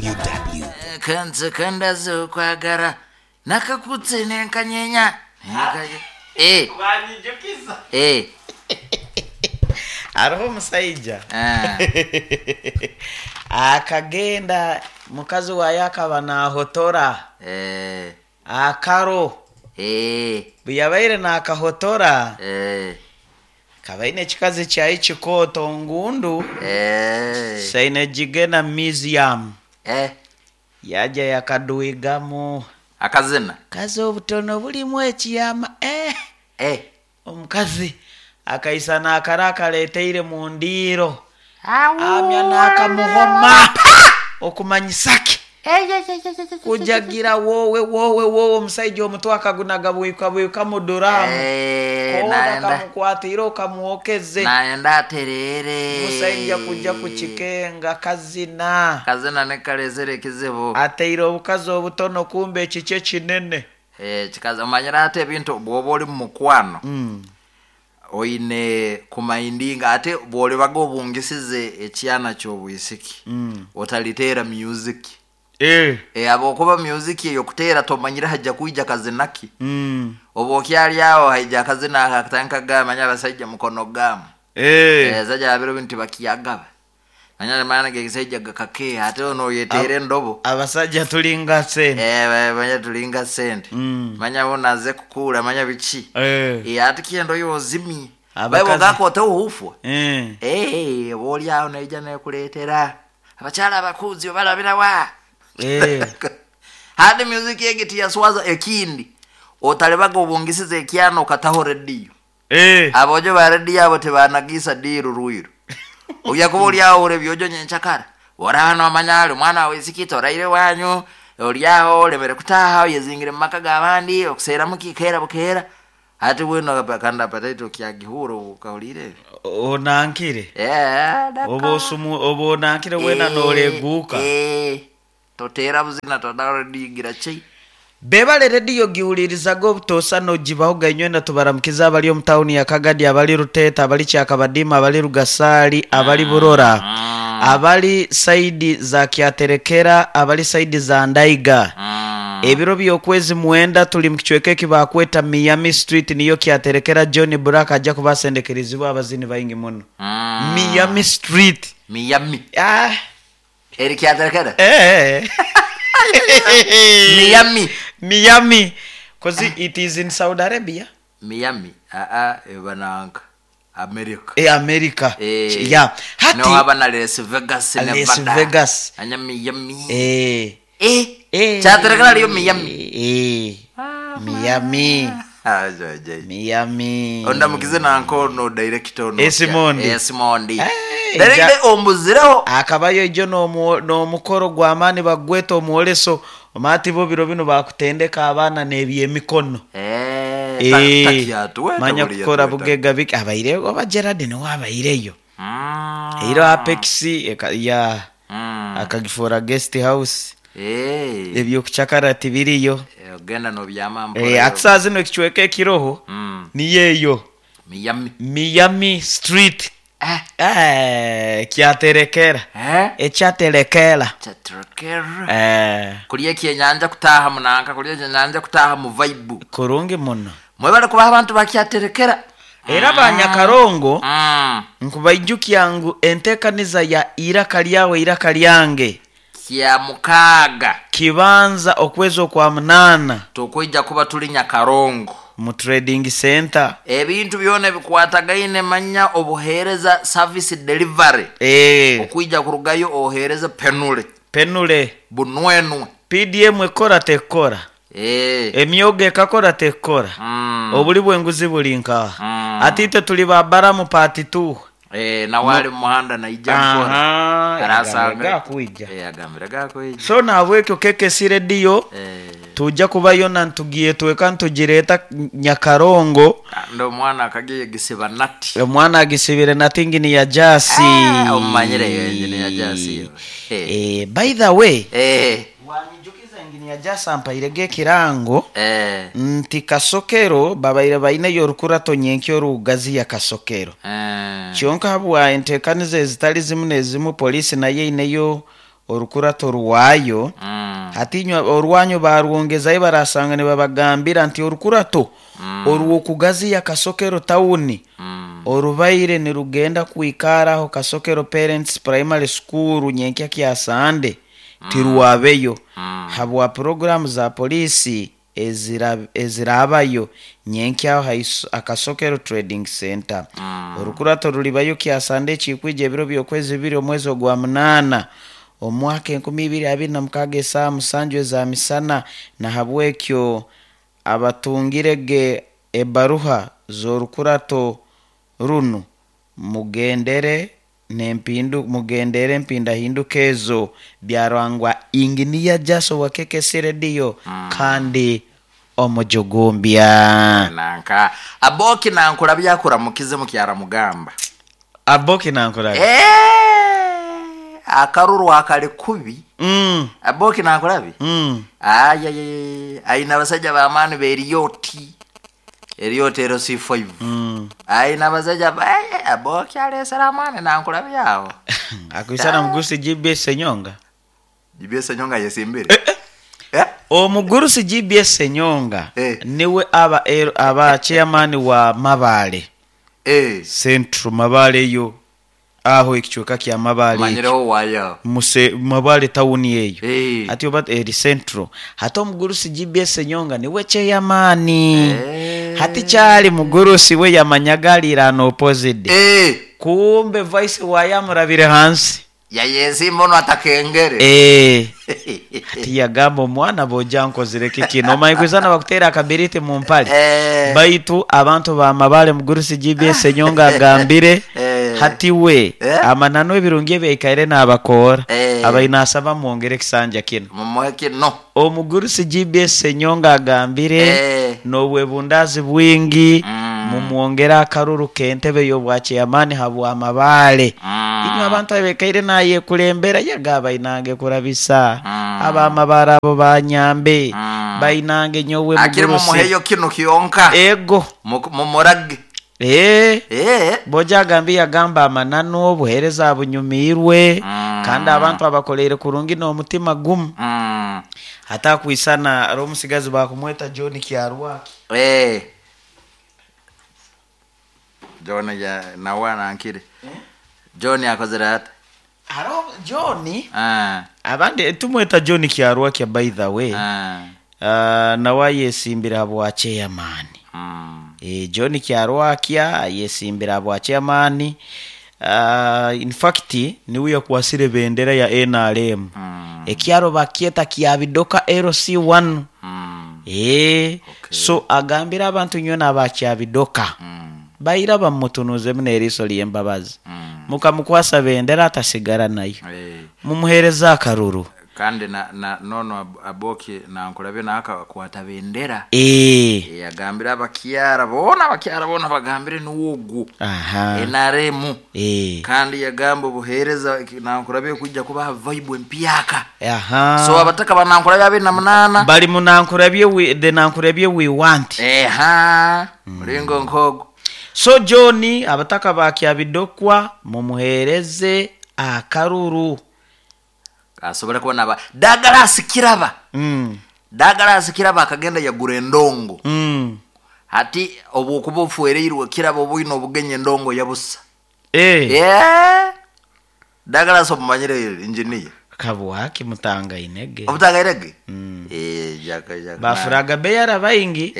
www. Kanze ndaze okwagara nakakutse nenkanyenya. Eh, Wanyijukiza. eh. Hariho omusaija Ah. akagenda mukazi waayo akaba naahotora Eh. akaro. Eh. Bwe yabaire naakahotora Eh. akaba aine ekikazi kyaye kikooto ngundu Eh. saine gigena museum. Eh. Yajja yakadwigamu Akazina. kazi obutono bulimu ekiyama eh. Eh. Omukazi akaisa naakara akaleeteire mu ndiiro amya n'akamuhoma okumanyisa ki kujagira woowe woowe woowe omusaija omutwe akagunaga bwika bwika mu duraamu. Eh, koona naenda. kamukwatiire okamwokeze. Naenda aterere. Omusaija kujja kukikenga kazina. Kazina nekalezere ekizibu. Ateire obukazi obutono kumbe ekikye kinene. Eh, kikazi omanyira ate ebintu bw'oba oli mu mukwano oine kumaindinga ate bw'olibaga obungisize ekyana ky'obwisiki otaliteera music. Eh. E, abaokuba music eyo kuteera tomanyire hajja kwija kazinaki. Oba okyali awo haija akazina ako akatandika gamanya abasajja mukono gamu. Eh. Abasajja babiro bintu bakiyagaba manya maana gekisajja gakakeeha ate ono oyeteera endobo. Abasajja tulinga sente. Eh, manya tulinga sente. Manya bonaze kukuula manya biki. Eh. Eh, ate kyendo yozimye Abakazi- baibo gakote ohufwa. Eh. Eh, oba oli awo naija nekuleetera abakyala abakuzi obalabirawa. Eh. Hadi music egi tiyaswaza ekindi otalebaga obungisiza ekyana okataho rediyo. Eh. Abojo ba rediyo abo tebanagisa diiru rwiru ojja kuba oli awo olebyojo nyenkyakara oraba nomanya ali omwana wawe isikita oraire wanyu oli awo olemere kutaaha oyezingire mu maka g'abandi okuseeramu kikeera bukeera ate bweno kandi apataito okyagihura okahurire. Onankire. Eh, daka. Oba osumu oba onankire wena noreguuka. Eh, toteera buzina todagira ki. Bebale rediyo giwulirizaga obutoosa nogibaho gainywena tubaramukiza abali omu tawuni ya Kagadi, abali Ruteeta, abali Kyakabadima, abali Rugasaali, abali Burora, abali saidi za Kyaterekera, abali saidi za Ndaiga. Ebiro by'okwezi 9 tuli mu kicweka eki bakweta Miami Street niyo Kyaterekera. John Black ajja kubasendekerezibwa abazini baingi muno. Miami Street. Miami. Ah. Eri Kyaterekera. Eh. Miami. Miami. Cause it is in Saudi Arabia. Miami. Aa ebananka America. Eh, America. Eh. Yeah. Hati No aba na Las Vegas, Las Nevada. Vegas. Anya Miami. Eh. Eh. Eh. Kyaterekera liyo Miami. Eh. Miami. Ah, jai. Miami. Ondamukize nanko no director ono. Esimondi. Esimondi. Eh, Director ombuzireho. Akabayo ijo n'omukoro gw'amaani bagweta omwoleso omati bo biro bino bakutendeka abaana n'ebyemikono. Eh, Eh, takyatuweta manya buli kukora yatuweta. bugega biki abaire oba Gerard niwe abaireyo. Eiro Apex ya akagifuura guest house. Eh. Ebyokucakara tibiriyo. Eh, ogenda nobyama mpola. Eh, ati saa zino ekicweka ekiroho niyo eyo Miami. Miami Street. Eh. Eh, kyaterekera. Eh? Ekyaterekera. Kyaterekera. Eh, Kulya ekyenyanja kutaaha munanka, kulya ekyenyanja kutaaha mu vibe. Kurungi muno. Mwebale kuba abantu bakyaterekera. Era banyakarongo nkubaijukya ngu enteekaniza ya iraka lyawe iraka lyange Kya mukaaga kibanza okwezi okwa 8 tukwija kuba tuli Nyakarongo mu trading center. Ebintu byona ebikwatagaine manya obuheereza service delivery. Eh. Okwija kurugayo oheereza penule. Penule. Bunwenwe. PDM ekora tekora. Eh. Emyoga ekakora tekora. Obuli bw'enguzi buli nkaha. Ate itwe tuli ba Baramu part 2. Eh, na wali muhanda naija nkora. Aha, Arasanga. gakwija. Eh, agambire gakwija. So nahabwekyo KKC Radio Eh. tujja kubayo na ntugiye tweka ntugireeta Nyakarongo. Ndo omwana akagiye gisiba nati. Omwana agisibire nati ngini ya jasi. Ah, omumanyire yo engine ya jasi yo. Eh. Eh, by the way. Eh. Wanyijukiza engine ya jasi ampairege ekirango. Eh. Nti Kasokero babaire baineyo orukurato nyenkyo orugazi ya Kasokero. Eh. Kyonka habwa enteekaniza ezitali zimu n'ezimu poliisi nayo eineyo Orukurato rwayo. Hati inywe orwanyu barwongezayo, barasanga nibabagambira nti orukurato orw'okugaziya Kasokero tawuni orubaire nirugenda kwikaraho Kasokero Parents Primary School nyenkya kya Sande tirwabeyo habwa puroguramu za poliisi ezirabayo nyenkyaho Akasokero Trading Center. Orukurato rulibayo kya Sande ekikwija, ebiro by'okwezi 2 omwezi ogwa 8 omwaka 2026, esaaha 7 eza misana. Nahabwekyo abatungirege ebaruha z'orukurato runu mugendere n'empindu, mugendere empindahinduka ezo. Byarangwa Inginiya Jaso wa KKC Radio kandi omujugumbya. Nanka Aboki nankura byakuramukize mukyara mugamba. Aboki nankurabi. Eh, akaruru akali kubi. Aboki nankurabi. Ayayaya, aina abasajja b'amaani b'eriyoti, eriyoti ero C5. Aina abasajja Aboki alesera amaani nankurabi aho. Akwisana mugurusi GBS Senyonga. GBS Senyonga yesimbire, eh? Omugurusi GBS Senyonga niwe aba chairman wa Mabale Central, Mabale eyo aho ekicweka kya Mabale ekyo. Manyireho wayo. Muse Mabale tawuni eyo. Hati oba eri Central, hati omugurusi GBS Senyonga niwe chairman. Hati kyali mugurusi we yamanyaga alirana opposite. Kumbe vice wayamurabire hansi. Yayesimba ono atakengere. Hati yagamba omwana boja nkozire kikino omanyi kwizana bakutera akabiriti mu mpale. Baitu abantu bamabale, mugurusi GBS Senyonga agambire hati we amananu ebirungi ebyaikaire n'abakoora abainasaba mwongere ekisanja kino. Mumuhe kino. Omugurusi GBS Senyonga agambire n'obwebundazi bwingi mumwongere akaruru k'entebe y'obwachairman habwamabale. Inywe abantu abekaire nayekulembera yagaba inange kurabisa abamabara abo banyambe bainange nyowe Akiri mugurusi. Mumuheyo kino kyonka. Ego. Mumurage. Boja agambi yagamba amananu obuheereza bunyumirwe kandi abantu abakoleire kurungi n'omutima gumu. Hatakwisana ari omusigazi bakumweta John Kyarwaki. John ya nawe anankire John akozere ata? Haro John. Abandi tumweta John Kyarwaki, by the way. Nawe ayesimbira bwa chairman. John Kyarwakya yesimbira bwa chairman. In fact niwe yakwasire bendera ya NRM. Ekyaro bakyeta Kyabidoka LC1. So agambira abantu nyona abakyabidoka baira bamutunuzemu n'eriiso ly'embabazi mukamukwasa bendera atasigara nayo. Mumuhereza akaruru. Kandi na nono Aboki nankulabye nakakwata bendera. Yagambira abakyara bona, abakyara bona bagambire niwogu. NRM. Kandi yagamba obuheereza nankulabye kujja kubaha vibe empyaka. So abataka banankulabye 28 bali munankurabye the nankurabye we want. Eha, mulingo nkogo. So John, abataka bakyabidokwa mumuhereze akaruru. Asobole kubona aba Douglas Kiraba. Douglas Kiraba akagenda yagura endongo. Hati obwokuba ofuereirwe Kiraba obwine obugenyi endongo yabusa. Yeah. Douglas omumanyire, engineer. Kabwaki mutanga inege. Obutangairege. Eh, jaka jaka. Bafuraga beyara baingi.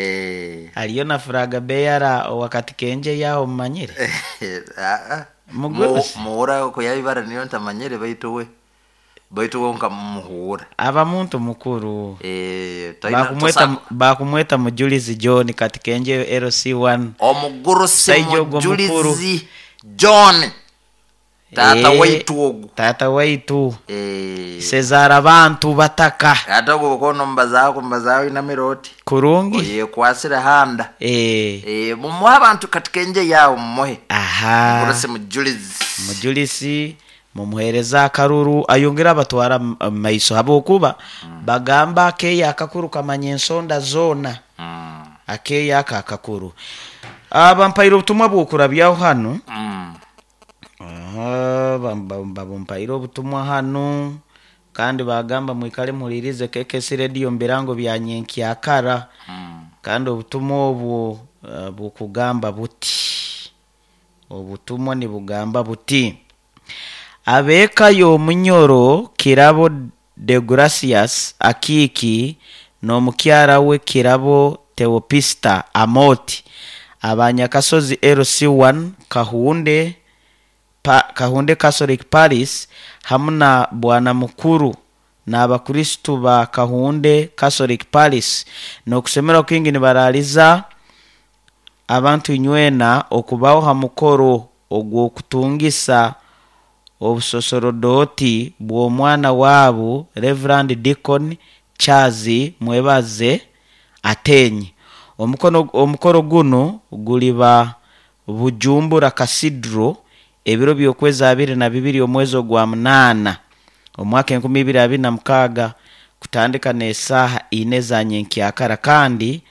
Aliyo na furaga beyara wakati kenje yaho mumanyire. Ah, ah. Mugurusi. Muhura kuyabibara niyo ntamanyire, baitu we nkamuhura. Aba muntu mukuru. Tosa- Bakumweta mujulizi John kati kenje LC1. Omugurusi. Saija ogwo mukuru. Mujulizi John, tata waitu ogu. Tata waitu. Sezara abantu bataka. Ate ogwo bukono mubazaaho kumubazaaho inamira oti Kurungi. Oyekwasire handa. Mumuhe abantu kati kenje yawo mumuhe. Mugurusi mujulizi. Mujulisi mumuhereza akaruru ayongera abatwara maiso habwokuba bagamba akeya akakuru kamanya ensonda zona. Akeya aka akakuru bampaire obutumwa bwokurabyaho hano. Aha, babumpaire obutumwa hano. Kandi bagamba mwikale muhulirize KKC Radio mu birango bya nyenkyakara. Kandi obutumwa obwo bukugamba buti, obutumwa nibugamba buti: ab'eka y'omunyoro Kirabo Deogratias Akiiki n'omukyara we Kirabo Teopista Amoti abanyakasozi LC1 Kahunde Kahunde Catholic Parish hamu na Bwana Mukuru n'abakristu ba Kahunde Catholic Parish n'okusemererwa kwingi nibaraaliza abantu inywena okubaho ha mukoro ogw'okutungisa obusosorodoti bw'omwana wabu Reverend Deacon Charles Mwebaze Atenyi. Omukoro gunu guliba Bujumbura Cathedral ebiro by'okwezi 22 omwezi ogwa 8 omwaka 2026 kutandika n'esaaha 4 za nyenkyakara. Kandi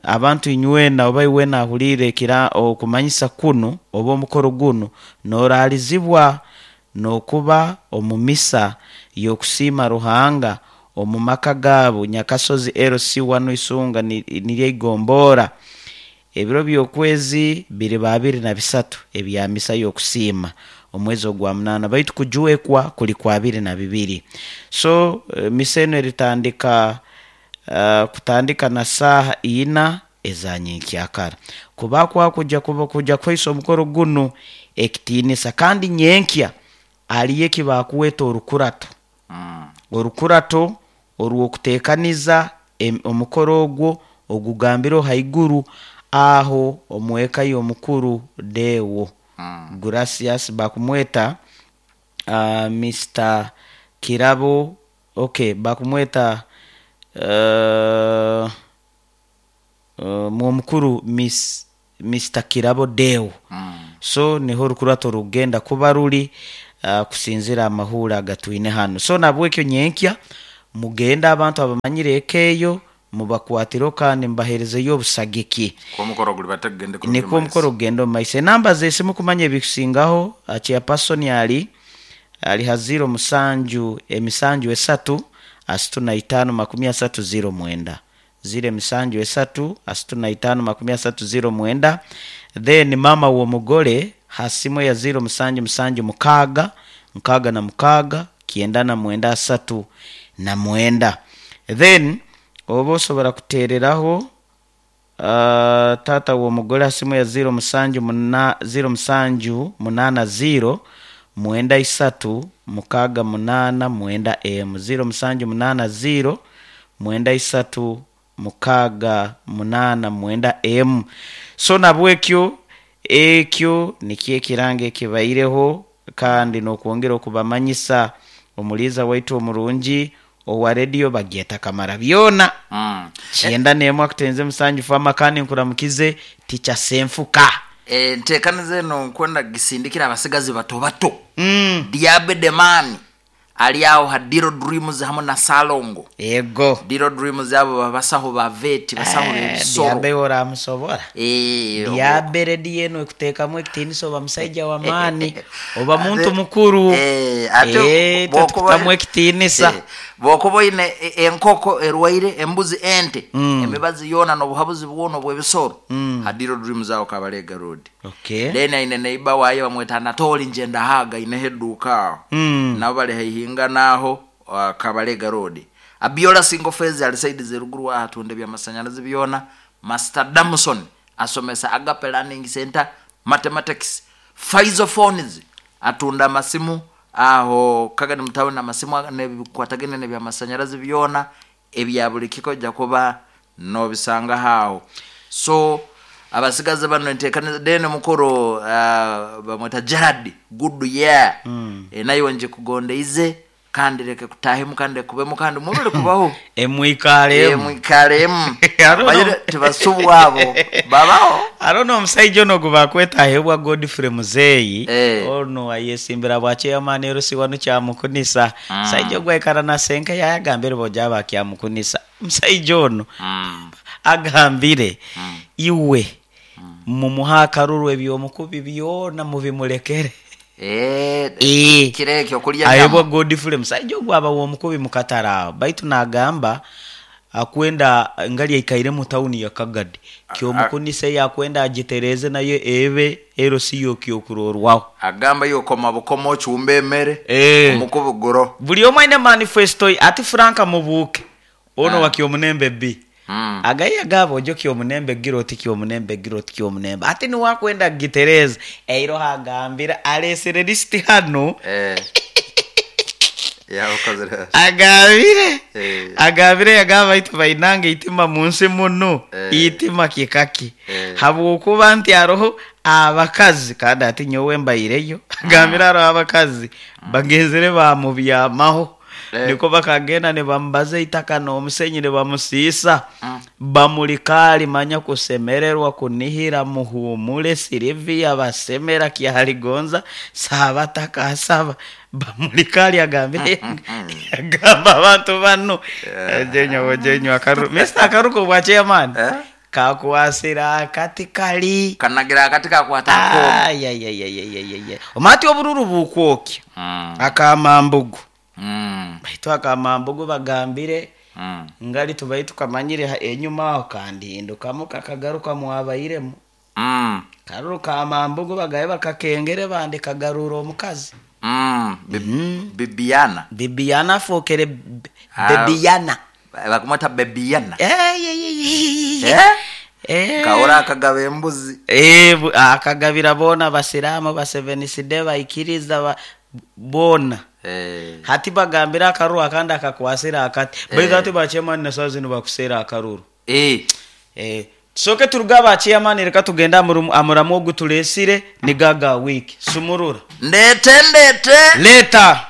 abantu inywena oba iwena ahuliire okumanyisa kunu oba omukoro gunu noraalizibwa n'okuba omu misa y'okusiima Ruhanga omu maka gaabo Nyakasozi LC1 Isunga niryo igombora. Ebiro by'okwezi biriba 23 ebya misa y'okusiima omwezi ogwa 8, baitu kujwekwa kuli kwa 22. So misa enu eritandika kutandika na saaha 4 eza nyenkyakara. Kuba kwakuja kuja kuhaisa omukoro gunu ekitiinisa. Kandi nyenkya aliyo eki bakweta orukurato. Orukurato orw'okuteekaniza omukoro ogwo ogugambirwe haiguru aho omweka y'omukuru Deo Gracias bakumweta Mr. Kirabo, okay, bakumweta mwomukuru Mr. Kirabo Deo. So niho orukurato rugenda kuba ruri kusinzira amahura agatwine hano. So nabwekyo nyenkya mugenda abantu abamanyire eka eyo mubakwatiro kandi mubaherezeyo obusagiki. Omukoro guli bategende. Nikwo omukoro gugenda omu maiso. Enamba z'esimu kumanya ebikusingaho, chairperson ali ha 0 7 7 3 35 30 9, 0 7 3 35 30 9. Then mama w'omugore ha simu ya 0 7 7 6 66 99 39. Then oba osobora kutereraho tata w'omugore ha simu ya 0 7 0 7 8 0 9 3 6 8 9 m 0 7 8 0 9 3 6 8 9 m. So nabwekyo ekyo nikyo ekiranga ekibaireho, kandi n'okwongera okubamanyisa omuliiza waitu omurungi owa rediyo bagyeta Kamara byona. 91 akutenze musanju fama. Kandi nkuramukize tica Senfuka. Enteekaniza eno nkwenda gisindikira abasigazi bato bato. Diabe Demani ali aho ha Diro Dreams hamwe na Salongo. Ego. Diro Dreams abo babasaho ba vet, basaho b'ebisoro. Diabe oramusobora. Diabe rediyo eno ekuteekamu ekitiinisa, oba musaija w'amaani oba muntu mukuru. Ate Tukutamu ekitiinisa. Bwokuba oine enkoko erwaire, embuzi, ente, emibazi yoona n'obuhabuzi bwona obw'ebisoro, ha Diro Dreams aho Kabalega Road. Then aine neighbor waye bamweta Anatoli Njendahaga, aineho edduuka aho. Nabo bali haihinga naaho Kabalega Road. Abiola Single Phase ali side z'eruguru aho atunda ebyamasanyarazi byona. Master Damson asomesa Agape Learning Center Mathematics. Faizo Phones atunda amasimu aho Kagadi mutawuni, amasimu nebikwatagene n'ebyamasanyarazi byona ebya buli kika ojja kuba nobisanga aho. So abasigazi bano enteekaniza then mukuru bamweta Gerard Good Year. Nayo nje kugondeize kandi leke kutahemu kandi kubemu kandi mubere kubaho. Emwikalemu. Emwikalemu. I don't Bayire know. tibasubwa abo babaho. Arono omusaija ono gwe bakweta ahebwa Godfrey Muzeeyi. Ono ayesimbira bwa chairman erusi wano kyamukunisa. Musaija ogwo aikara na senka yayagambire boja bakyamukunisa. Omusaija ono agambire iwe mumuha akaruru ebyomukubi byona mubimulekere. Kiro ekyo kulya Ayebwa nyama. Godfrey musaija ogwo aba w'omukubi mu katare aho, baitu naagamba akwenda ngali aikaire mu tawuni ya Kagadi, kyomukunisa yakwenda agitereeze nayo ebe LC y'okyokurorwaho. Agamba iwe koma bukoma ocumbe emere, omukubi guro. Buli omwe aine manifesto ye. Ati Frank Mubuuke ono wa Kyomunembe B, agaye agamba ojo Kyomunembe gira oti Kyomunembe gira oti Kyomunembe, ati niwe akwenda kugitereeza. Eiroho agambire aleesere lisiti hanu. Yabukozere. Agambire agambire yagamba baitu bainange eitima munsi munu, eitima kikaki, habwokuba nti haroho abakazi kandi ati nyowe mbaireyo. Agambire haroho abakazi bagenzere bamubyamaho, niko bakagenda nibamubaza eitaka n'omusenyi nibamusiisa, bamulikaali manya kusemererwa kunihira muhumule Silivia basemera kyaligonza sabataka asaba bamulikaali. Agambire agamba abantu banu ojenywa ojenywa akaru Mr. Akaruko bwa chairman kakwasira akati kali. Kanagira akati kakwata akoma. Ayayayayayaya, omati obururu bukwokya akamambugu, baitu akamambugu bagambire ngali tubai tukamanyire enyuma aho kandihindukamu kakagaruka mwabairemu. Karuru kamambugu bagaye bakakengere bandi kagarura omukazi. Bibiana. Bibiana afookere Bebiyana. Bakumweta Bebiana. Eh, eh. Kahora akagaba embuzi. Akagabira boona abasiraamu, baseveniside, baikiriza boona. Hati bagambira akaruru akandi akakwasira akati, baitu hati bachairman na saa zinu bakuseera akaruru. Tusooke turuge aba chairman, reka tugende amuramu ogu tuleesire ni gaga wiki sumurura. Ndete ndete. Leeta.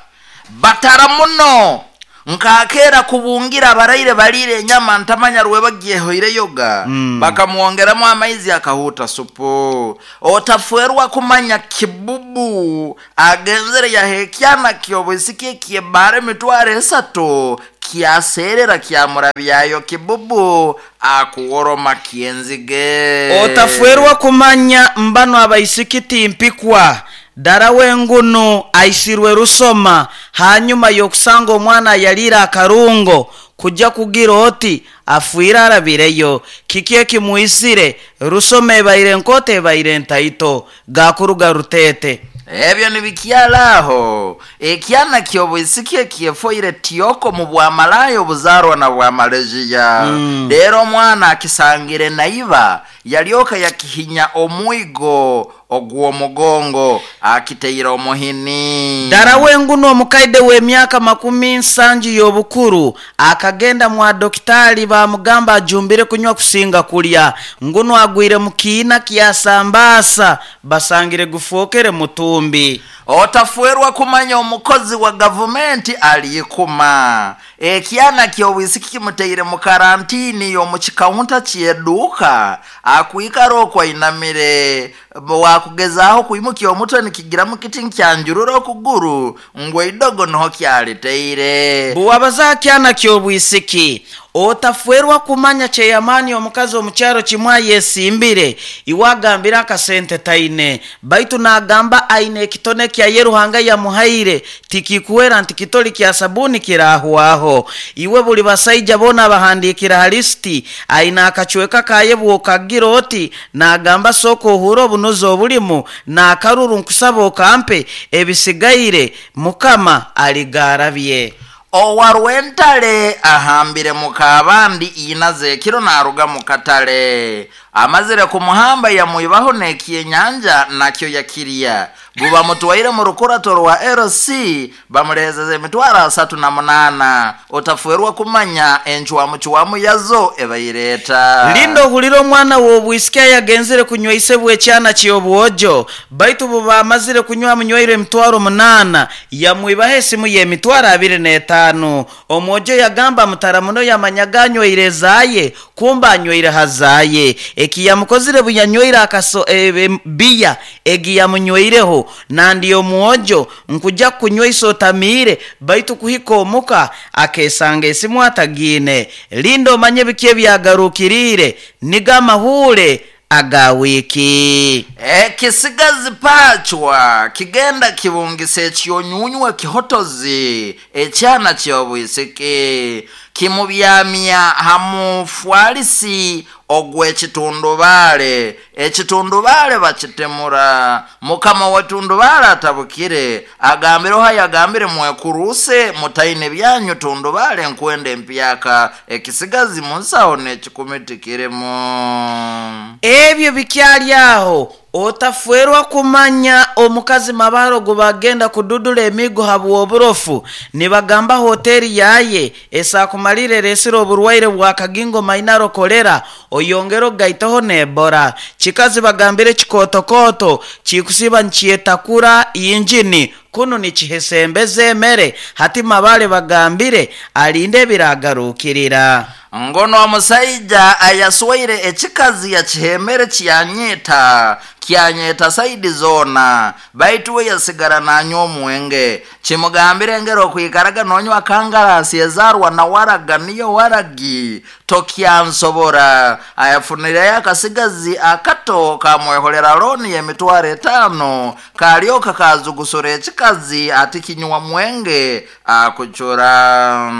Batara muno nkakeera kubungira abaraire balire enyama ntamanya rwe bagyehoire yoga, bakamwongeramu amaizi akahuta supu. Otafwerwa kumanya kibubu agenzere yahekyana kyobwisiki ekyebara 300,000 kyaserera kyamurabyayo kibubu akuworoma kyenzige. Otafwerwa kumanya mbano abaisiki timpikwa dara wengunu aisirwe rusoma hanyuma yokusanga omwana yalira akarungo kujja kugira oti afwire arabireyo kiki ekimuisire rusoma ebaire enkoto ebaire entaito gakuruga rutete. Ebyo nibikyala aho ekyana kyobwisiki ekyefoire tyoko mu bwamalayo obuzarwa na bwamaleziya. Rero omwana akisangire naiba yalyoka yakihinya omwigo ogw'omugongo akiteire omuhini. Dara wenguno omukaide w'emyaka 70 y'obukuru akagenda mwa dokitali bamugamba ajumbire kunywa kusinga kulya, nguno agwire mu kiina kyasambaasa basangire gufookere mutumbi. Otafwerwa kumanya omukozi wa gavumenti aliikuma ekyana kyobwisiki kimuteire mu karantini y'omu kikaunta kyeduuka akwikara okwainamire wakugezaho kwimukia omutwe nikigiramu kiti nkyanjurura okuguru ngwe idogo niho kyaliteire. Buwabaza kyana kyobwisiki. Otafwerwa kumanya cheyamani omukazi omukyaro kimwe ayesimbire iwagambira akasente taine, baitu nagamba aine ekitone kya ye Ruhanga yamuhaire tikikuwera nti kitoli kya sabuni kirahwaho. Iwe buli basaija bona bahandikira ha lisiti aine akacweka kaye bwokagira oti nagamba sooka ohure obunuzi obulimu nakaruru nkusaba okampe ebisigaire mukama aligarabye. Owarwentale ahambire mukabandi inaze ekiro naruga mu katale amazire kumuhamba yamwibaho nekyenyanja nakyo yakirya buba mutwaire mu rukurato rwa LC bamulezeze 308,000. Otafwerwa kumanya enchwamuchwamu yazo ebaireta. Lindo ohulire omwana w'obwisiki ayagenzere kunywa isebwa ekyana ky'obwojo, baitu buba amazire kunywa amunywaire 8,000 yamwibaho esimu y'25,000. Omwojo yagamba mutara muno yamanyaga anywaire zaaye kumba anywaire hazaye eki yamukozire buyanywire akaso biya egi yamunyweireho nandi omwojo nkuja kunywa isotamiire baitu kuhika omuka akesanga esimu atagiine. Linda omanye biki ebyagarukiriire niga amahuure. Aga wiiki. Ekisigazi pacwa kigenda kibungisa ekyonyunywa ekihotozi ekyana ky'obwisiki kimubyamya ha mufwalisi ogw'ekitundubaale. Ekitundubaale bakitemura. Mukama w'etundubaale atabukire agambire oha yagambire mwekuruuse mutaine byanyu tundubaale nkwenda empyaka ekisigazi munsaho n'ekikumi tikirimu. Ebyo bikyali aho, otafwerwa kumanya omukazi Mabare ogu bagenda kududura emiigo habw'oburofu. Nibagamba hoteri yaye esakumalire eresire oburwaire bwa kagingo mainaro kolera oyongere ogaiteho n'Ebola. Kikazi bagambire kikootokoto kikusiba nikyetakura injini kunu nikihesembeza emere. Hati Mabare bagambire alinde ebiragarukirira. Ngono omusaija ayaswaire ekikazi yakihemere kyanyeta kyanyeta saidi zoona baitu we yasigara nanywa omwenge. Kimugambire engeri okwikaraga nonywa kangarasi ezarwa na waraga niyo waragi tokyansobora. Ayafunireyo akasigazi akato kamweholera loni y'emitwaro 5 kalyoka kazugusura ekikazi ati kinywa mwenge akucura.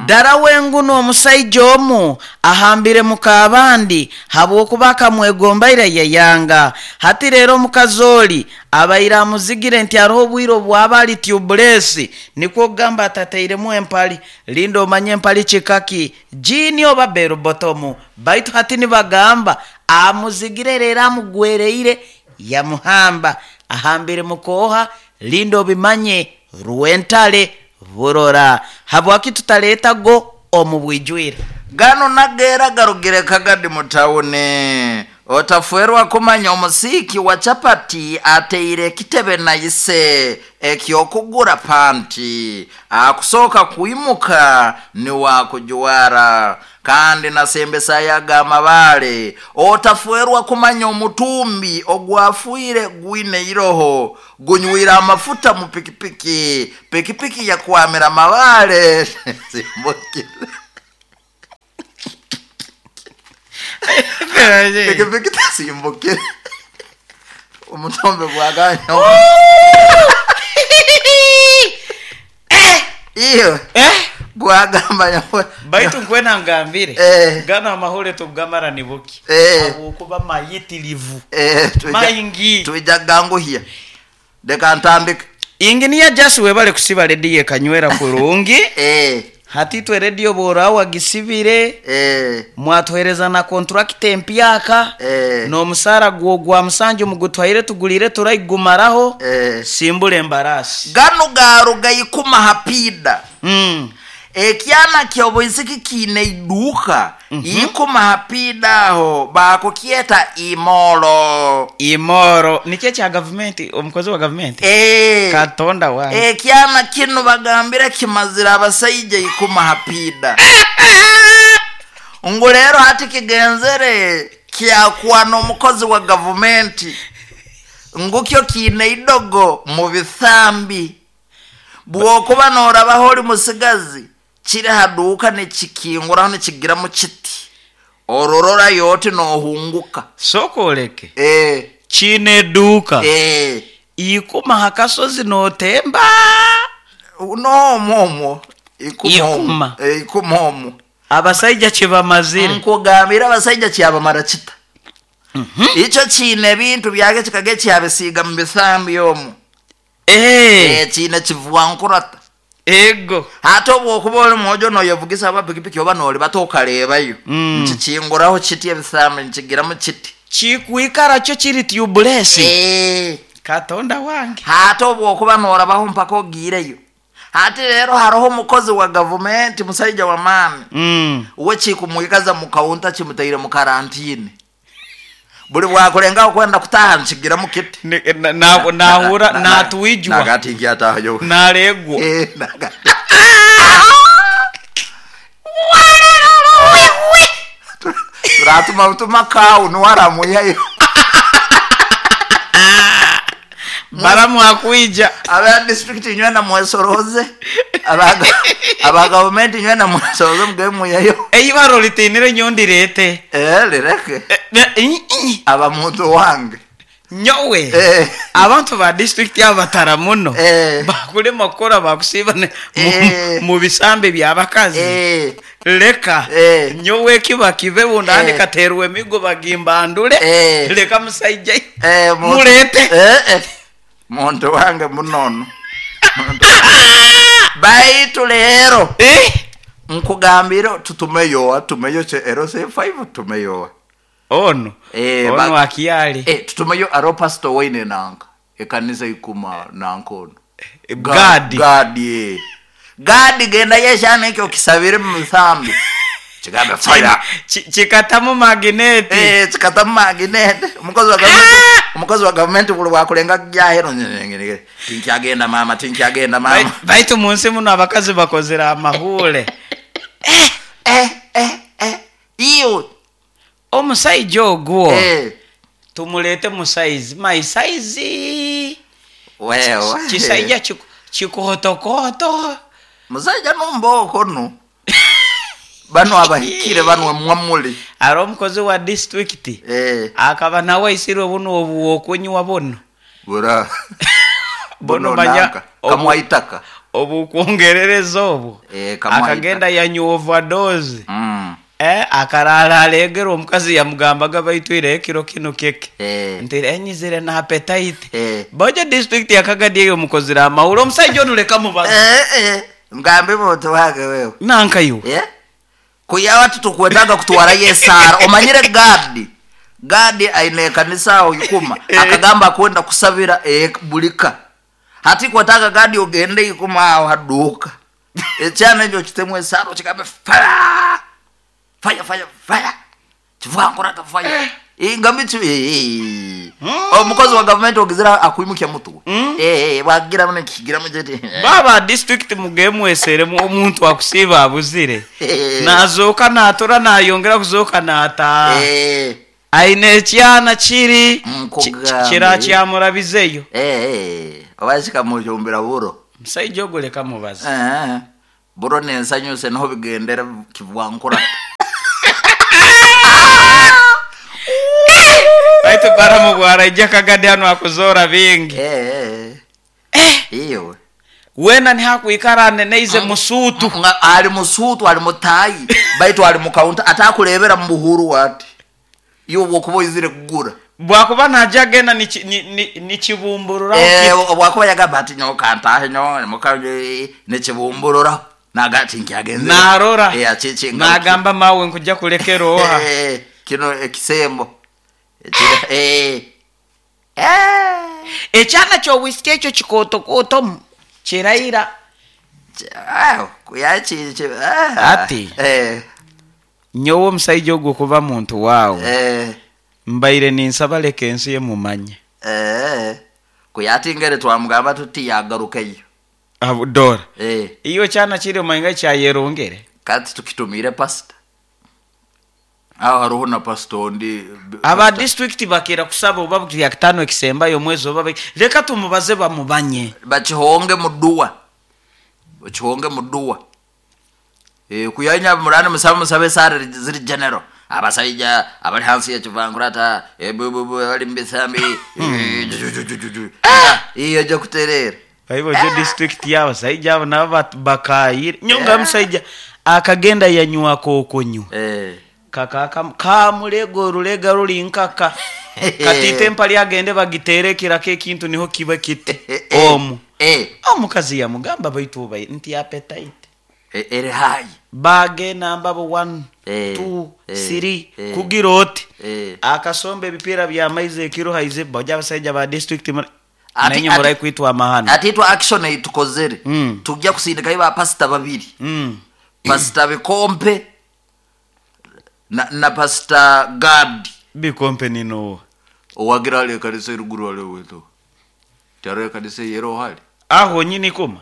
Dara wenguno omusaija omu ahambire mukabandi habwokuba akamwegombaire yayanga. Hati rero omukazi oli abaire amuzigire nti hariho obwire obwaba ali tubulesi nikwo kugamba atatairemu empali. Linda omanye empali kikaki jini oba berubotomu, baitu hati nibagamba amuzigire rero amugwereire yamuhamba ahambire mukoha. Linda obimanye rwentale burora habwaki tutaleta go omu bwijwire. Gano nagera garugire Kagadi mutawuni. Otafwerwa kumanya omusiki wa chapati ateire ekitebe naise ekyokugura panti akusoka kuimuka ni wakujwara kandi nasembesa yaga amabale. Otafwerwa kumanya omutumbi ogwafuire gwine iroho gunywira amafuta mu pikipiki pikipiki yakwamira mabale. Simbukire pikipiki tasimbukire omutombe gwaganya iyo gwagamba baitu nkwena ngambire gana amahore tugamara nibuki abukuba mayitirivu maingi tuija ganguhia deka ntandike inginiya jasi webale kusiba rediyo ekanywera kurungi. Hati twe rediyo borawa gisibire mwatwereza na contract empyaka n'omusara gwo gwa musanju mugutwaire tugulire turaigumaraho simbule embarasi gano garuga ikuma hapida. Ekyana ky'obwisiki kiine iduka ikuma hapida aho bakukyeta imoro. Imoro nikyo kya gavumenti omukozi wa gavumenti katonda wange. Ekyana kino bagambira kimazira abasaija ikuma hapida. Ngu rero hati kigenzere kyakwana omukozi wa gavumenti ngukyo kiine idogo mu bithambi bwokuba norabaho ori musigazi kiri haduka nekikinguraho nekigiramu kiti ororora yote nohunguka sokoleke chine duka ikuma hakasozi notemba no momo ikuma ikuma omo abasaija kibamazire nkugambira abasaija kyabamara kita. Icho chine bintu byage kikage kyabisiga mu bithambi omo chine kivuankurata ego hata obwokuba oli mwojo noyevugisa aba pikipiki oba noli batokarebayo nkikinguraho kiti ebithambi nkigiramu kiti kikuikara kyo kiri tubulesi katonda wange. Hata obwokuba norabaho mpaka ogireyo. Hati rero hariho omukozi wa gavumenti musaija wa maani we kikumuikaza mu kaunta kimutaire mu karantine buli bwakulenga kwenda kutaha nkigiramu kiti nahura natuwijwa nagati ngyatayo naregwa turatuma tuma kau nuwaramuyayo baramwakwija aba district nywena mwesoroze aba government nywena mwesoroze mgemuyayo eibaro litinire nyondirete lireke Aba muntu wange. Nyowe abantu ba disitulikiti abo batara muno, bakulema kukora, bakusiiba mu bisambi by'abakazi. Leka nyowe ekiba kibe, bundi katerwa emigo bagimbandule. Leka musaija muleete. Muntu wange munono. Baitu leero nkugambire tutumeyoa, tumeyo LC5, tumeyoa. Ono ono akiyali. Tutumeyo aro pastor waine nanka ekanisa ikuma nankono. Gadi. Gadi, gadi, genda yeshana ekyo kisabire mu misambi, kigambe fire. Kikatamu magineti. Kikatamu magineti. Omukozi wa gavumenti, omukozi wa gavumenti buli bwakulenga jahero, tinkyagenda mama, tinkyagenda mama. Baitu munsi muno abakazi bakozere amahule. Iyo. Omusaija ogwo tumulete mu size, my size. Wewe. Kisaija kikotokoto. Musaija nombooko no bano abahikire bano mwamuli. Ari omukozi wa disitulikiti akaba nawe aisirwe buno obu okunywa buno. Bura. Buno Buno manya nanka kamwaitaka. Obukwongerereza obwo. Kamwaitaka. Akagenda yanywa overdose. Akarara alegera omukazi yamugambaga, baitwire ekiro kino keke nti enyizire na appetite. Bojo district yakagadi eyo mukozire amawuro, omusaija onu leka mubaza. Ngambe muntu wange wewe. Nanka iwe. Kuyawa tutukwetaga kutwara yesara, omanyire gadi, gadi aine ekanisa aho ikuma. Akagamba kwenda kusabira bulika hati kwetaga gadi ogende ikuma aho haduka ekyana ekyo kitemu esara, kigambe fire, fire, fire, fire, kivankurata fire ingambi. Omukozi wa gavumenti ogizira akwimukya mutwe. Wagira muno kigiramu kiti. Baba district mugemweseremu, omuntu akusiiba abuzire, nazooka natora, nayongera kuzooka nata aine ekyana kiri Nkugambye. kira kyamurabizeyo. Oba kikamujumbira buro. Musaija ogwo leka mubaza. Buro nensanyuse niho bigendera kivwankura. Baitu baramu bwaraija kagadi hano akuzoora bingi. Iyo. Wena nihakwikara aneneize musuutu. Ali musuutu, ali mutayi, baitu ali mukaunta atakurebera mu buhuru wati iyo bwokuba oizire kugura. Bwakuba naja agenda nikibumbururaho Bwakuba yagamba ati nyo kantahe nyo muka nekibumburura nagati nkyagenze. Narora. Achichi nagamba mawe nkujja kulekera oha. Kino ekisembo. Ekyana kyobwisiki ekyo kikotokoto kiraira. Ati. Nyowe omusaija ogwo kuba muntu waawe mbaire ninsaba leka ensi ye mumanye. Kuyatingere twamugamba tuti yagarukeyo. Dora iyo kyana kiri omanyiga kyayerongere. Kati tukitumire pasita aho hariho na pasita ondi. Aba disitulikiti bakira kusaba oba bya kitano ekisembayo omwezi oba leka tumubaze bamubanye. Bakihonge muduwa, bakihonge muduwa. Kuyanya murani musabe, musabe sare ziri general, abasaija abali hansi yekivangurata, bali mubisambi. Iyo ejja kutereera. Baibo jo disitulikiti y'abasaija abo nabo bakayire nyonga musaija akagenda yanywako okonywa kaka kamulega orulega ruri nkaka katite empali agende bagitere ekirako ekintu niho kiba kiti omu. Omukazi yamugamba baitu obai nti appetite eri hayi. Bagenda mbabo 1 2 3 kugira oti akasomba ebipiira byamaizi ekiro haize bajja abasaija ba district nenye murai kwitwa amahano. Ati itwa action eitukozere tujja kusindikayo bapasita babiri, pasita bikompe na pasita gadi. Bikompe ninowo? Owagira ali ekanisa eruguru ali wetu tyaro ekanisa eyero hali. Aho nyini kuma.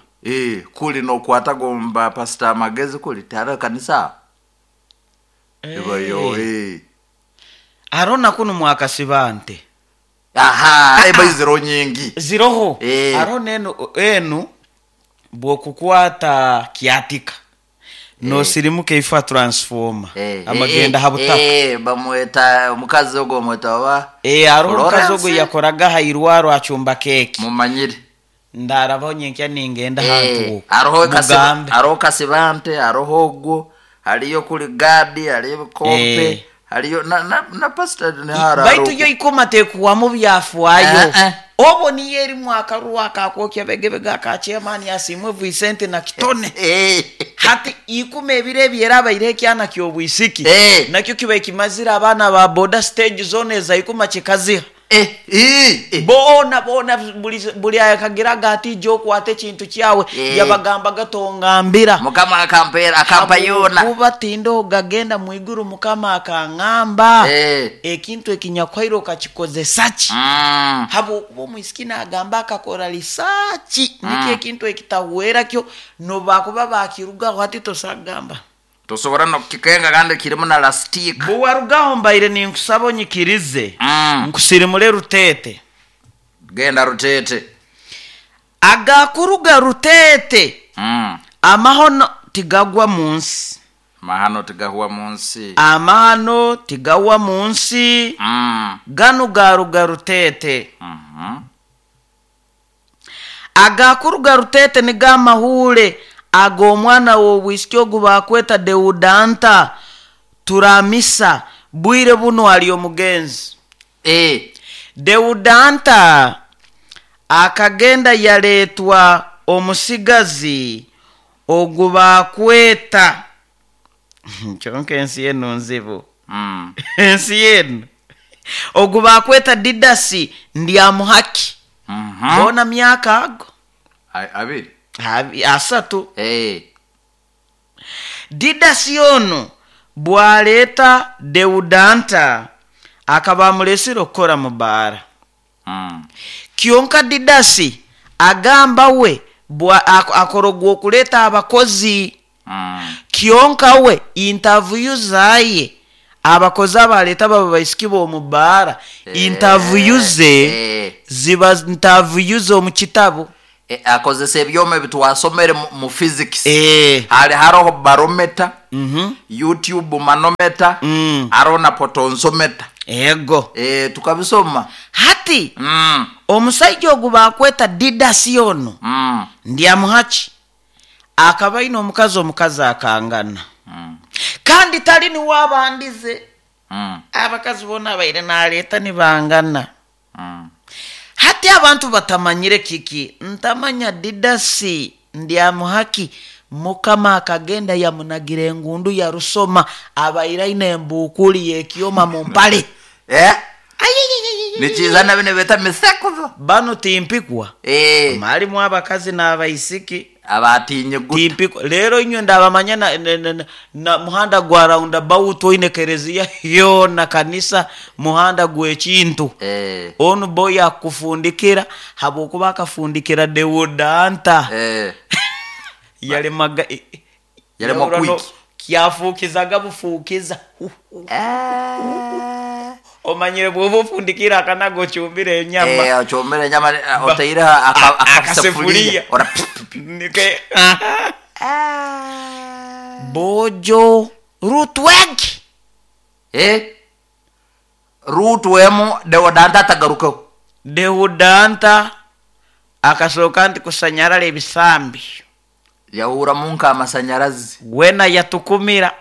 Kuli nokwata gomba pasita amagezi kuli tyaro ekanisa ebayo. Arona kuno mwakasiba nte. Aha, eba iziro nyingi. Ziroho. Arona enu enu bwokukwata kyatika. Nosirimuka ifa transformer Eh, amagenda eh, ha butaka. Bamweta omukazi ogwo bamweta oba Hariho omukazi ogwo Florence? yakoraga ha irwaro acumba keki. Mumanyire. Ndarabaho nyenkya ningenda hantu Hariho mugambe. Hariho kasibante, hariho ogwo, hariyo kuli gadi, hariyo bikompe, hariyo na pastor nihara. Baitu yo ikoma tekuwamu byafwayo. Eh, eh. Obo niyo erimu akaruwa akakwokya begebega akachairman asimwe Vicente na kitone. Hati ikuma ebiro ebyera abaire ekyana ky'obwisiki. Nakyo kiba kimazire abaana ba boda stage zone eza ikuma kikaziha. Boona boona buli akagiraga ati ija okwata ekintu kyawe. Yabagambaga tongambira. Mukama akampera akampa yona. Kuba tindo gagenda mwiguru mukama akaŋŋamba. Ekintu ekinyakwaire okakikozesa ki? Habwokuba omwisiki nagamba akakora risaaki nikyo ekintu ekitahwera kyo nobakuba bakirugaho hati tosagamba. Tosobora nokukikenga kandi kirimu na lastika. Bwewarugaho mbaire ninkusaba onyikirize. Nkusirimule Rutete. Genda Rutete. Agakuruga Rutete. Amahono tigagwa mu nsi. Mahano tigahwa mu nsi. Amahano tigagwa mu nsi. Ganu garuga Rutete. Agakuruga Rutete ni gamahure ag'omwana w'obwisiki ogu bakweta Deudanta turamisa bwire buno ali omugenzi. Deudanta akagenda yaletwa omusigazi ogu bakweta kyonka ensi eno nzibu. Ensi eno ogu bakweta Didasi Ndyamuhaki. Bona myaka ago Abiri. Asatu. Didasi ono bwaleeta Deudanta akaba amulesire okukora mu baara. Kyonka Didasi agamba we akorogwa okuleeta abakozi. Kyonka we interview zaye abakozi abaleeta baba baisiki b'omu baara. Interview ze ziba interview z'omu kitabu. Akozesa ebyoma ebitwasomere mu physics. Hali haroho barometer, YouTube manometer, hariho na potentiomètre. Ego. Tukabisoma. Hati omusajja ogu bakweta Didasi ono Ndyamuhaki akaba aine omukazi, omukazi akangana. Kandi tali niwe abandize. Abakazi bona abaire naleeta nibangana. Hati abantu batamanyire kiki ntamanya Didasi Ndyamuhaki mukama akagenda yamunagira engundu yarusoma abaire aine embuukuli yekyoma mu mpale. Nikizana bino beta misekuzo. Bano timpikwa. Malimu abakazi n'abaisiki. Abatinye guta. Timpikwa. Leero inywe ndabamanya na muhanda gwa roundabout oine kereziya yona kanisa muhanda gw'ekintu. Onu boy akufundikira habwokuba akafundikira Deodanta. Yalemaga Yalema yahura no kwiki. Kyafukizaga bufukiza. Omanyire bwoba ofundikira akanago ocumbire enyama. Ocumbire enyama, oteire akasefuria. Akasefuria. Ora Nike. Bojo Rutweg. Rutwemu Deodanta atagarukaho. Deodanta akasooka nti kusanyarara ebisambi. Yahura munka amasanyarazi. Wena yatukumira.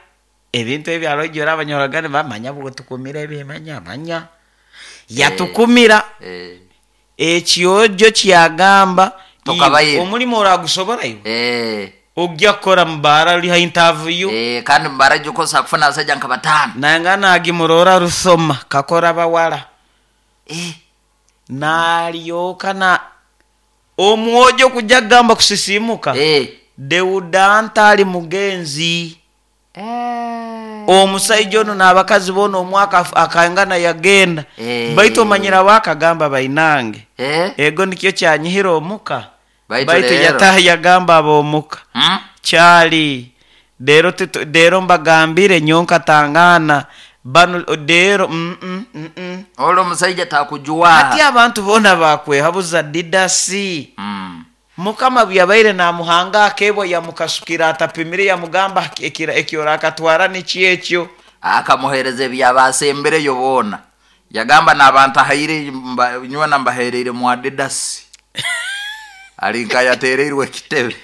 Ebintu ebyo arojora abanyoragani bamanya bwo tukumira ebimanya manya. Yatukumira. Ekyojo kyagamba Tokabaire. Omulimo oragusobora iwe. Ojja kukora mubara uri ha interview. Kandi mubara gyokosa kufuna abasajja nka batano. Nanga nagimurora rusoma kakora bawala. Nalyoka na omwojo kujja kugamba kusisimuka. Deudanta ali mugenzi. Omusajja ono n'abakazi boona omwaka akangana yagenda. Baitu omanyira wakagamba bainange. Ego nikyo kyanyihira omuka. Baitu Baitu rero. yataha yagamba ab'omuka. Kyali. Rero rero mbagambire nyonka tangana. Bano rero Olwo omusajja takujuwa. Ati abantu boona bakwehabuza Didasi. Mukama byabaire namuhanga akebwa, yamukasukira atapimire, yamugamba ekyo akatwara nikyekyo. Akamuhereza ebyabasembereyo boona, yagamba n'abantu ahaire nywena mbahereire mu Adidas, ali nka yatereirwe ekitebe.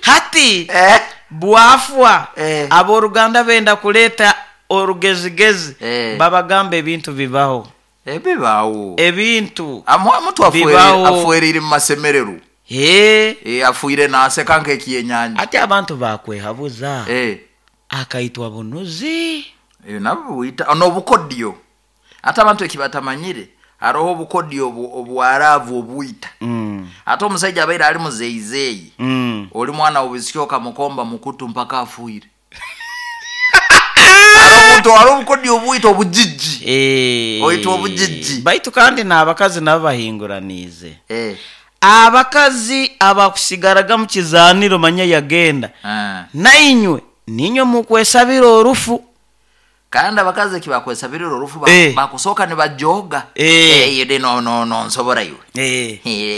Hati bwafwa, abooruganda benda kuleeta orugezigezi, babagamba ebintu bibaho. Ebibaho. Ebintu Omuntu bibaho. Afuereire mu masemererwa. Afuire naseka nk'ekyenyanja. Ati abantu bakwehabuza, akaitwa bunuzi. Nabwo bwita n'obukodyo. Ate abantu ekibatamanyire, haroho obukodyo obwaraavu obwita. Ate omusaija abaire ali muzeizeeyi, oli mwana w'obwisiki okamukomba mukutu mpaka afuire. Hariho omuntu, hariho obukodyo obwita obujiji. Oitwa obujiji. Baitu kandi n'abakazi nabo bahinguraniize. Abakazi abakusigaraga mu kizaaniro manya yagenda, nainywe ninywe mukwesabira orufu. Kandi abakazi ekibakwesabirira orufu, bakusooka nibajoga. Ide no no no nsobora iwe.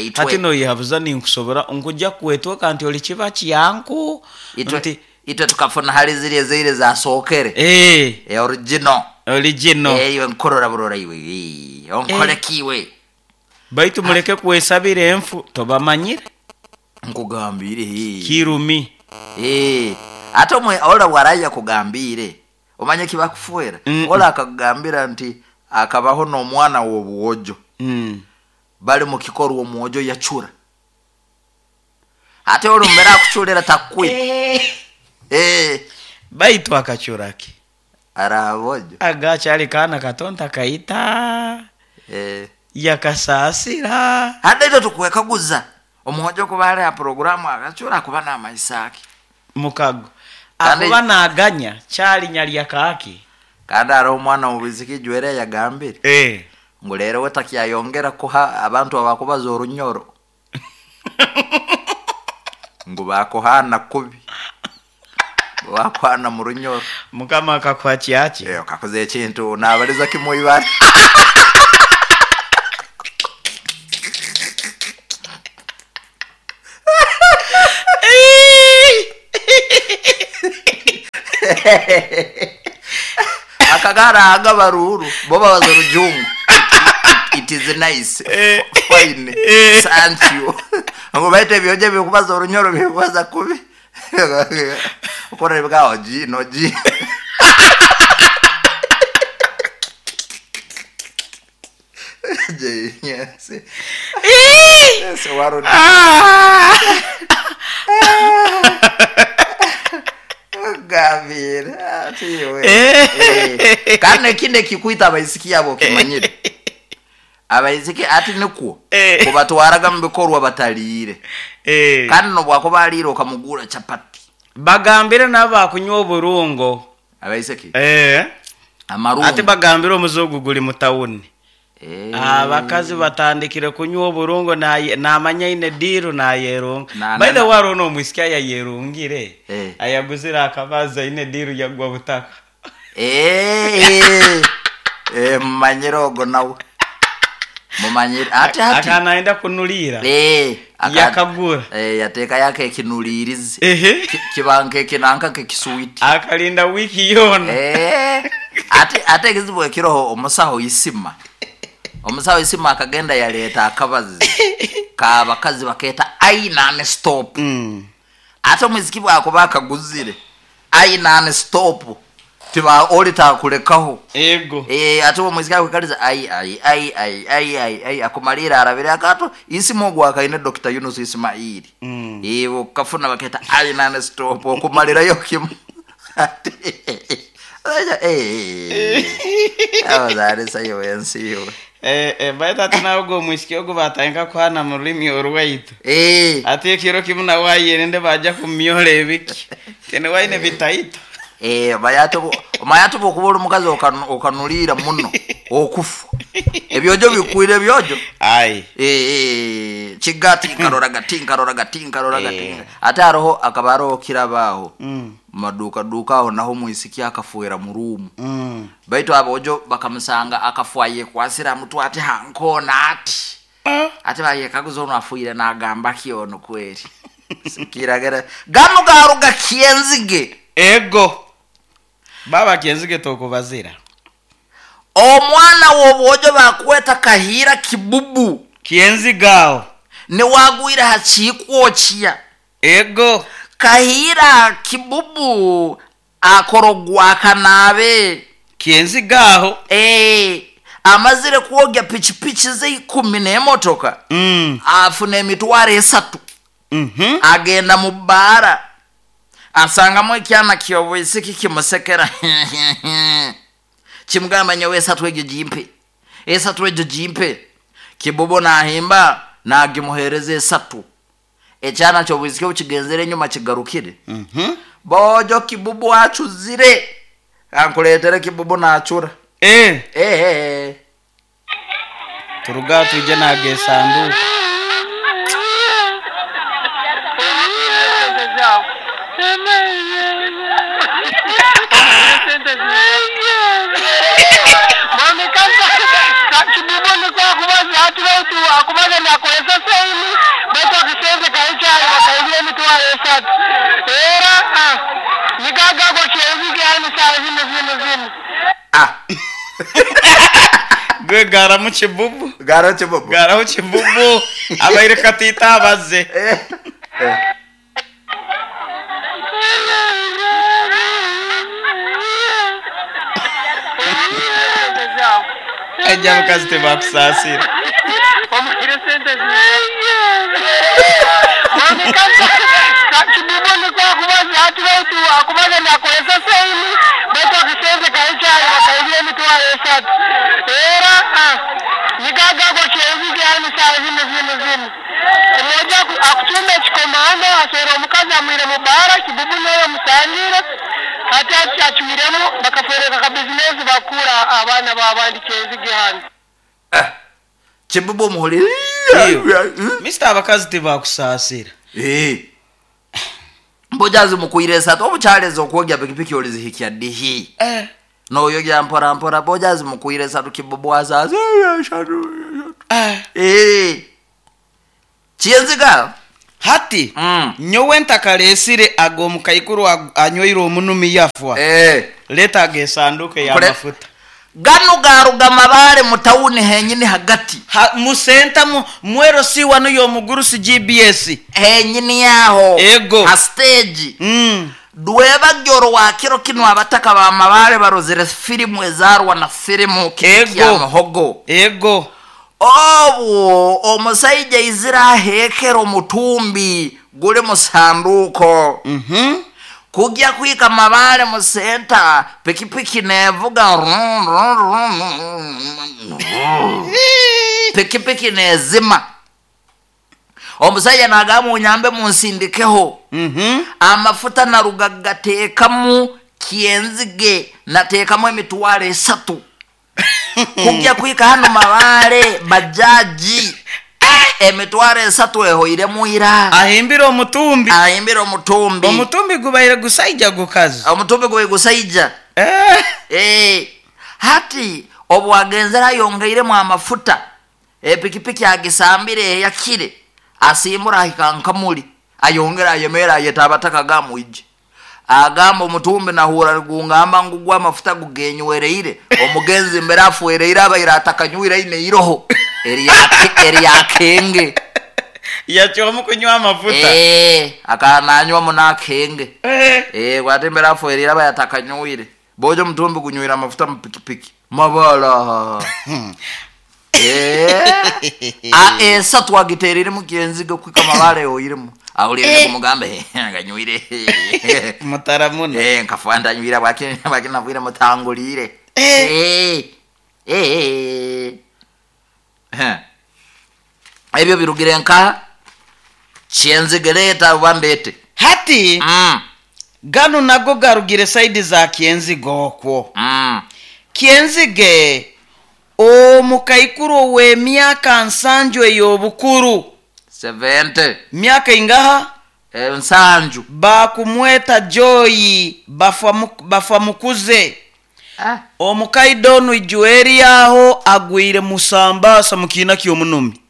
Itwe Hati noyehabuza ninkusobora nkuja kwetweka nti oli kiba kyanku. Itwe, nti itwe tukafuna hali ziri ezaire zasookere. Original. Original. Iwe nkurora burora iwe. Onkoleki iwe. Baitu muleke kwesabira enfu tobamanyire. Nkugambire. Kirumi. Ate omwe ola bwaraya kugambire, omanye kibakufuera. Ola akakugambira nti akabaho n'omwana w'obwojo. Bali mu kikorwa omwojo yacura. Ate oli mbera akucurira takwita. Baitu akacuraki? Arabojo. Agakyali kaana kato ntakayita. Yakasasira. Hata ito tukwekaguza. Omwojo kuba ali ha programu akacura kuba n'amaisa ake. Mukago. Akuba naganya kyali nyalya kaaki. Kandi hariho omwana w'obwisiki jwere yagambire. Ngu leero we takyayongera kuha abantu abakubaza orunyoro. Ngu bakuhana kubi. Bakuhana mu runyoro. Mukama akakuha kyaki? Okakoze ekintu nabaliza kimwe ibara. Akagara aga baruru bo babaza orujungu. It is nice. Fine. Thank you. Ngo baite ebyoje bikubaza orunyoro bikubaza kubi. Ukora ibwaho ji no ji. Je, yes. Yes, waro. Gavira, atiwe. Kandi ekindi ekikwita abaisiki abo kimanyire. Abaisiki ati nikwo kubatwaraga mu bikorwa bataliire. Kandi nobwakuba aliire okamugura chapati. Bagambire nabo bakunywa oburungo. Abaisiki? Amarungo. Ati bagambire omuzogu guli mu tawuni. Abakazi batandikire kunywa oburungo namanya ine diru nayerunga. By the way, arono omwisiki ayayerungire. Ayaguzire akabaza ine diru yagwa butaka. Mumanyire ogo nawe. Mumanyire. Ati ati. Akanaenda kunulira. Yakagura. Yateka yake ekinulirizi. Kibanke ekinanka kekisuiti. Akalinda wiki yona. Ati ate ekizibu ekiroho omusaho isima. Omusaho isima akagenda yaleeta akabazi kabakazi baketa aina stop. Ate omuziki bwakuba akaguzire aina stop tiba oli takulekaho. Ego. Ate omuziki akwekaliza ai ai ai ai ai ai ai akumalira arabire akato isima ogwo akaine Dr. Yunus Ismaili. Okafuna baketa aina stop okumalirayo kimu. Abazaarisa ensi yo. Baita tinago omwisiki ogu batandika kuhana mu rulimi orwaitu. Ati ekiro kimu nawe ayerende baja kumyola ebiki. Tene waine bitaito. Mayatu okuba oli mukazi okanulira muno okufa. Ebyojo bikwire ebyojo. Ai. Kigati nkaroraga tinkaroraga tinkaroraga tinka. Ate haroho akaba haroho kirabaaho. Maduka duka aho naho omwisiki akafuera mu ruumu. Baitu abojo bakamusanga akafuaye kwasira mutwe ati hankona ati. Ate bayekaguza ono afuire nagamba ki ono kweri kiragera gano garuga Kyenzige. Ego baba Kyenzige tokubazira. Omwana w'obwojo bakweta Kahira Kibubu. Kyenzigao niwagwire hakikwokya. Ego Kahira Kibubu akorogwa kanabe. Kyenzigaho. Amazire kwogya pichipichi ze 10 n'emotoka. Afuna emitwaro 3. Agenda mu bara asangamu ekyana ky'obwisiki kimusekera. Kimugamba nyowe 3 egyo jimpe, 3 egyo jimpe. Kibubu nahimba nagimuhereza 3. Ekyana ky'obwisiki okigenzere enyuma kigarukire. Bojo Kibubu acuzire ankuletere Kibubu nachura. Turuga tuje nagesanduku. Gwe gara mu Kibubu. Gara Kibubu. Gara mu Kibubu. Abaire katita abaze. Ejja mukazi tebakusaasira. Kibubu muhuli. Mr. abakazi tebakusaasira. Mbojazi mukuire 3 obukyaleza okwogya pikipiki olizihikya dihi. Noyogya mpora mpora bojazi mukuire 3 Kibubu azazi. Kyenziga hati nyowe ntakalesire ago mukaikuru anyoire omunumi yafwa. Leta agesanduke ya mafuta. Gano garuga Mabare mu tawuni henyini hagati. Musenta mwero si wano yomugurusi GBS. Henyini yaho. Ego. Ha stage. Dweba gyoro wa kiro kino abataka ba Mabare barozere filimu ezarwa na filimu kya muhogo. Ego. Obwo omusajja izira hekero mutumbi gule musanduko. Kujya kwika Mabare mu senta pikipiki nevuga pikipiki nezima. Omusajja nagamu nyambe munsindikeho. Amafuta narugagatekamu Kyenzige natekamu emitwaro 3. Kujya kwika hano Mabare bajaji emitwaro 3 ehoire muira. Ahimbira omutumbi. Ahimbira omutumbi. Omutumbi gubaire gusaija gukazi. Omutumbi gubaire gusaija. Hati obwagenzera yongeiremu amafuta. Pikipiki agisambire yakire. Asimbura hikankamuli. Ayongera ayemera ayetabataka gamuije. Agamba omutumbi nahura gungamba ngugwa amafuta gugenywereire. Omugenzi mbere afuereire abaira atakanyuira ine iroho. Eri yakenge. Yachomu kunywa amafuta. Akananywa munakenge. Gwatembera afuereire abaira atakanyuire. Bojo mutumbi kunywira amafuta mu pikipiki. Mabala. Esatu agiterire mu Kyenziga kwika Mabare oyiremu. Awulire kumugambe nganyuire. Mutaramuna. Nkafanda nywira bwake navwire mutangulire. Ebyo birugire nka Kyenzige leta wambete. Hati gano nago garugire saidi za Kyenzige okwo. Kyenzige omukaikuru we myaka 70 ey'obukuru. 70. Myaka ingaha? 70. Bakumweta Joy bafa mukuze. Omukaidonu ijueri yaho agwire musambasa mukina ky'omunumi.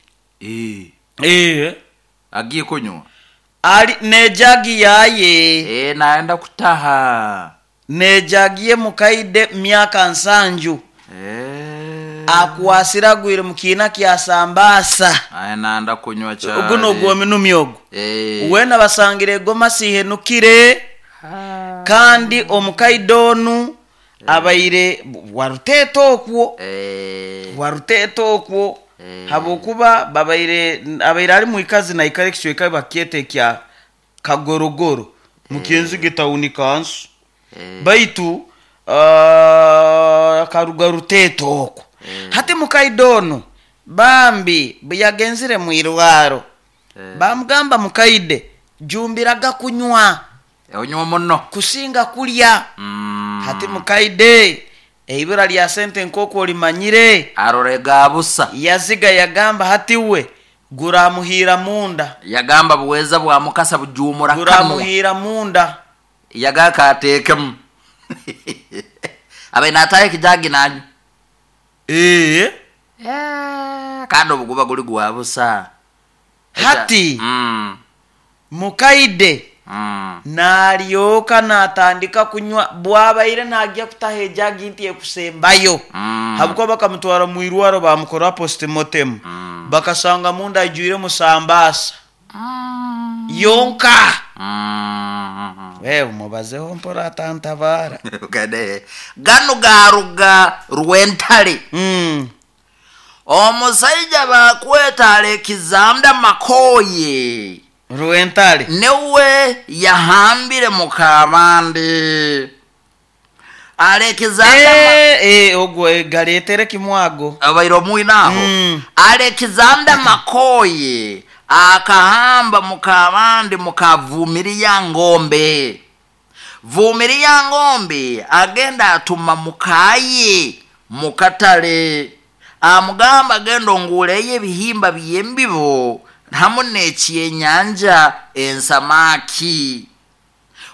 Eh. Agiye kunywa Ali nejagi yaye. Naenda kutaha. Nejagi ye mukaide myaka 70. Akwasira agwire mu kiina kya sambaasa. Aya nanda kunywa cyane. Ogu nogwominumi ogu. Wena basangire egomasi ihenukire, kandi omukaide onu abaire waruteeta okwo. Waruteeta okwo. Habwokuba babaire abaire ali mwikazi naikara ekicweka bakyeta ekya Kagorogoro mukyenzige tawuni kansu. Baitu karuga Ruteeta okwo. Hati mukaide onu bambi buyagenzire mwirwaro, bamugamba mukaide jumbiraga kunywa. Onywa muno. Kusinga kulya. Hati mukaide eibura lya sente nk'oku olimanyire. Arorega busa. Yaziga yagamba hati we guramuhira munda. Yagamba buweza bwa mukasa bujumura kanwa. Guramuhira munda. Yagaka atekemu. Abe nataye kijagi nanyu. Kandi obuguba guli gwa busa. Hati mukaide nalyoka natandika kunywa bwabaire najya kutaha ejagi nti ekusembayo. Habwokuba bakamutwara mu irwaro bamukora postmortem. Bakasanga munda ajwire musambaasa. Yonka. Wewe mubazeho mpora atantabara. Kade. Gano garuga Rwentale. Omusajja bakweta Alexander Makoye. Rwentale. Newe yahambire mukabande. Alexander Ogwo galetere kimwago. Abaire omwinaho. Alexander Makoye akahamba mukabande mukavumiria ngombe. Vumiria ngombe agenda atuma mukaye mukatale. Amugamba agenda onguleye ebihimba by'embibo hamu n'ekyenyanja ensamaki.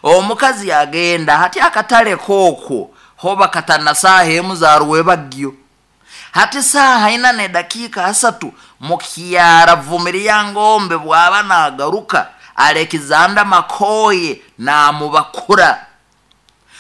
Omukazi agenda hati akatale koko hoba katana saaha emu za rwebagyo. Hati saaha ina ne dakika asatu mukyara Vumiria ngombe bwaba nagaruka Alexander Makoye namubakura.